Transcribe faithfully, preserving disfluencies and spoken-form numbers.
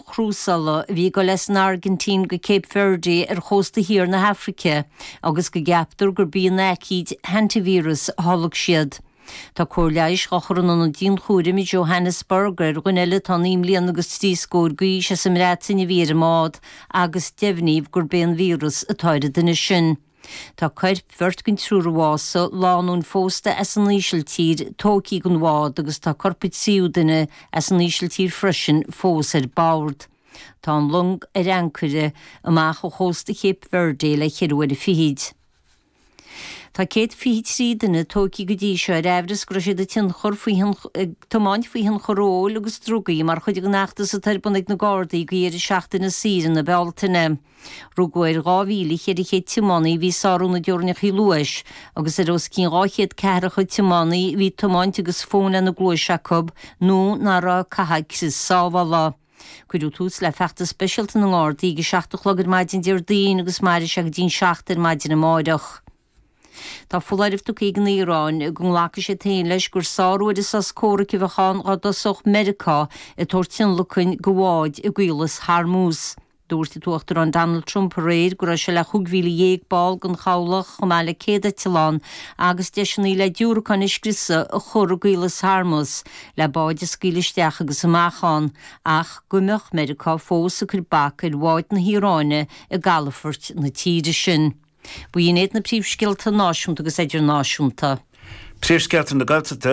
chrúsála a bhí ag dul as an Airgintín go Cape Verde ar chósta thiar na hAfraice agus go gceaptar gurb í an aicíd hantavíreas a tholg siad. Tá cóir leighis á chur in ionad dianchúraim i Johannesburg ar dhuine eile atá naoi mbliana agus trí scór d'aois as an mBreatain a bhí ar an mbád agus deimhníodh gurb é an víreas atá ar an duine sin. Tá coirp bheirt den triúr a bhásaigh, lánúin phósta as an Ísiltír, tógtha den bhád agus tá corp an tríú duine as an Ísiltír freisin fós ar bord. Tá an long ar ancaire amach ó chósta Cape Verde le ceithre uaire fichid. Tá céad fiche trí duine tógtha go dtí seo ar aimhreas go raibh siad ag tionchar faoi ag tiomáint faoi thionchar óil agus drugaí mar chuid den fheachtas atá ar bun ag na Gardaí go dheireadh seachtaine saoire na Bealtaine. Rugadh ar dhá mhíle cheithre chéad tiománaí a bhí ag sárú na dteorainneacha luais agus ar os cionn dhá chéad ceathracha tiománaí a bhí ag tiomáint agus fón lena gcluais acu nó nach raibh ag caitheamh crios sábhála. Cuireadh tús le feachtas speisialta na nGardaí ag a seacht a chlog ar maidin Déardaoin agus mairfidh sé go dtí'n seacht ar maidin amáireach. Tá foláireamh tugtha ag an Iaráin go nglacfaidh siad féin leis gur sárú ar an sos comhraic a bheadh ann dá dtosódh Meiriceá ag tabhairt tionlacain do bháid i gCaolas Hormuz. Dúirt an tUachtarán Donald Trump aréir go raibh sé le chúig mhíle dhéag ball den chabhlach chomh maith le céad eitleán agus deiseanna le diúracáin a scriosadh a chur i gCaolas Hormuz le báid a scaoileadh isteach agus amach ann ach go mbeadh Meiriceá fós ag cur bac ar bháid na hIaráine i gcalafoirt na tíre sin. B'in iad na príomhscéalta náisiúnta agus idirnáisiúnta. Príomhscéalta na Gaeltachta.